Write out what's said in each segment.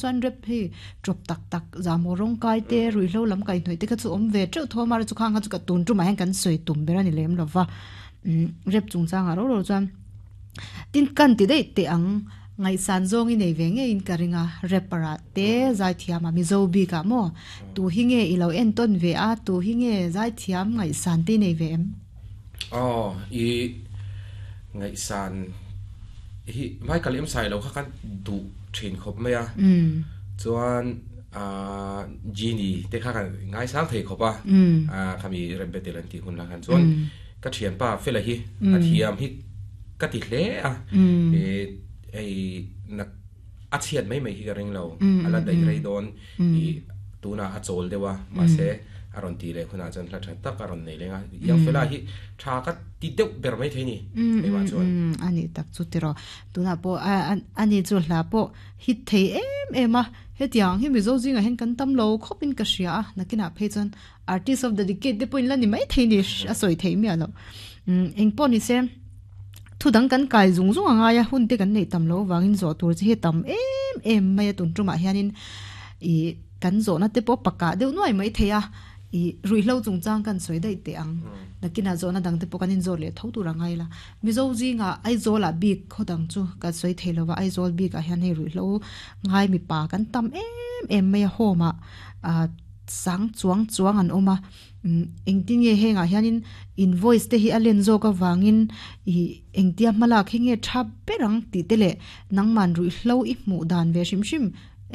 Chuan rep hei tawp tak tak zahmawh rawng kai te ruihhlo lam kaihhnawih te kha chu awm ve teuh tho a mahse chu khang kha chu ka tun tumah hian kan sawi tum ber a ni lem lo va umm rep chungchangah ro ro chuan tin kan ti daih teh ang ngaihsan zawng i nei ve ngeiin ka ring a rapper ah te zaithiam ah mizo bik ah maw tu hi nge i lo entawn ve a tu hi nge zaithiam ngaihsan te i nei ve em? Aw i ngaihsan hi Michael em sai lo kha kan duh thin khawp mai a chuan ah Genie te kha kan ngaisang thei khawp a ah khami rap battle an tih hun lah khan chuan ka thianpa fela hi a thiam hi ka ti hle a eh hei nak a chhiat mai mai hi ka ring lo a la daih rei dawn ih tunah a chawl deuh a mahse a rawn tih leh hunah chuan hla tha tak a rawn nei leng a Young fella hi tha ka ti deuh ber mai thei ni keimah chuan. A nih tak chu tiraw tunah pawh a ni chu hla pawh hit thei em em a hetiang hi Mizo zingah hian kan tam lo khawp in ka hria a nakinah phei chuan artist of the decade te pawh in la ni mai thei ni a sawi theih miah loh engpawh ni se. Thu dang kan kai zung zung a ngai a, hun te kan neih tam loh avangin zawh tur chi hi a tam em em mai a, tun tumah hianin ih kan zawhna te pawh pakah deuh nuai mai thei a, ih ruihhlo chungchang kan sawi daih teh ang. Nakinah zawhna dang te pawh kan inzawt leh tho tur a ngai la. Mizo zingah Aizawlah bik khaw dang chu kan sawi thei lova, Aizawl bikah hian hei ruihhlo ngai mipa kan tam em em mai a, home ah ah sang chuang chuang an awm a. Engtin nge hengah hianin invoice te hi a len zawk avangin ih engtia hmalak hi nge tha ber ang tih te leh nangman ruihhlo i hmuh dan ve hrim hrim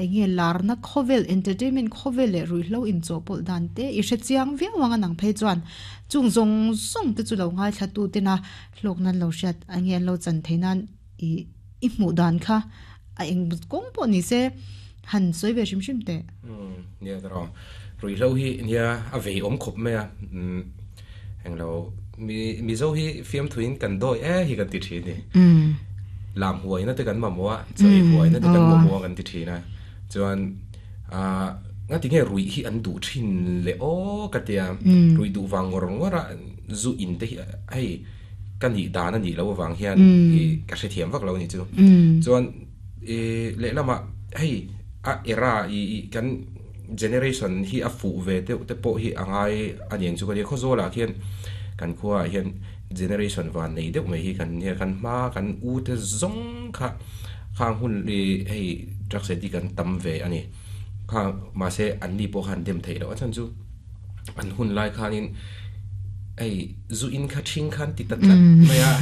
enge larna khawvel entertainment khawvel leh ruihhlo inchawhpawlh dan te i hre chiang viau ang a nang phei chuan chung zawng zawng te chu lo ngaithla tu tena hlawk nan lo hriat enge an lo chan theih nan ih i hmuh dan kha a eng kawng pawh ni se han sawi ve hrim hrim teh. Umm nia ka rawng ruihhlo hi nia a vei awm khawp mai a umm englo mi mizo hi fiamthuin kan dawi e hi kan ti thin ni lam huaina te kan mamawh a chawi huaina te kan mamawh a kan ti thin a chuan ah ngati nge ruih hi an duh thin le aw ka tia ruih duh vang ngawr ngawr a zu in te hi hei ka nih dan a nih loh avang hian i ka hrethiam vak lo a nih chu. Chuan i lehlamah hei a era i i kan generation hi a fuh ve deuh te pawh hi a ngai a niang chu ka nia. Khawzawlah khian kan khuaah hian generation van nei deuh mai hi kan nia kan hma kan u te zawng kha khang hun i hei drugs addict an tam ve a ni. Kha mahse an ni pawh kha an dem theih loh a chhan chu an hun lai khanin hei zu in kha ṭhing khan ti ta tlat mai a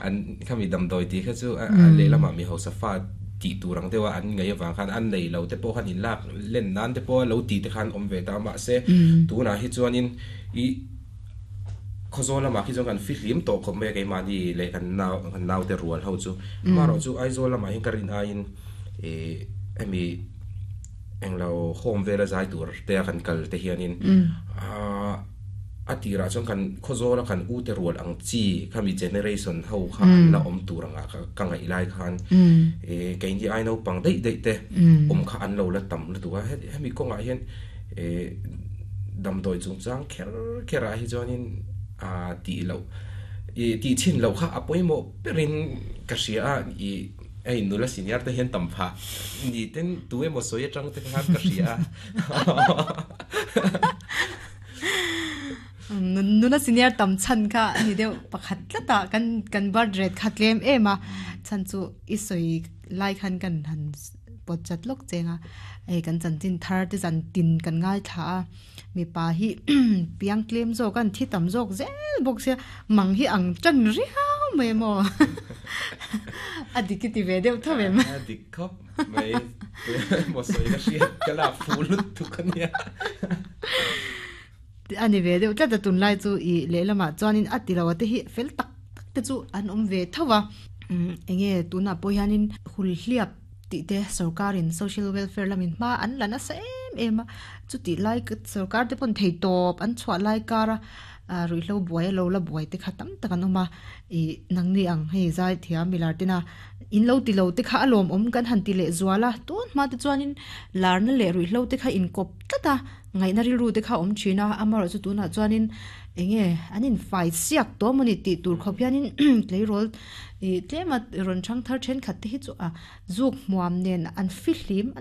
an khami damdawi tih kha chu a lehlamah mi hausa fa tih tur ang deuha an ngaih avang khan an nei lo te pawh khan in lak len nan te pawh lo tih te khan awm ve ta mahse tunah hi chuanin i Khawzawl lamah khi chuan kan fihlim tawh khawp mai a keimahni leh kan nau kan naute rual ho chu amaherawhchu Aizawl lamah hian ka rin aiin ih hemi englo home vela zai tur te a kan kal te hianin ahh a tirah chuan kan khawzawla kan u te rual ang chi khami generation ho kha an la awm tur anga ka ngaih lai khan ih keini ai naupang daih daih te awm kha an lo la tam lutuk a hemi kawngah hian ih damdawi chungchang kher kher ah hi chuanin ahh tih loh ih tih chhin loh kha a pawimawh berin ka hria a ih Hei nula senior te hian tam phah ni ten tu emaw sawi atang te khan ka hria a. Nula senior tam chhan kha a ni deuh pakhat tlat a kan kan birth rate kha tlem em a chhan chu i sawi lai khan kan han pawt chat lawk cheng a hei kan chanchin thar te zan tin kan ngaithla a mipa hi piang tlem zawk a an thi tam zawk zel bawk sia mang hi ang tan riau mai maw a dik i ti ve deuh tho em a dik khawp mai maw sawi ka hriat ka lak fuh lutuk a nia a ni ve deuh tlat a tunlai chu i lehlamah chuanin a ti lo a te hi fel tak tak te chu an awm ve tho a enge tunah pawh hianin hulhliap tih te sorkarin social welfare lamin hma an la nasa em em a chutih lai sorkar te pawn thei tawp an chhuah lai kar a ah ruihhlo buai a lo la buai te kha tam tak an awm a ih nangni ang hei zai thiam milar tena in lo ti lo te kha a lawmawm kan han ti leh zual a tun hma te chuanin larna leh ruihhlo te kha inkawp tlat a. Ngaihna rilru te kha awm thin a, amaherawhchu tunah chuanin eng nge an in fai siak tawh mawni tih tur khawp hianin tleirawl ih tlema rawn thang thar thenkhat te hi chu a zuk hmuam nen an fihlim an.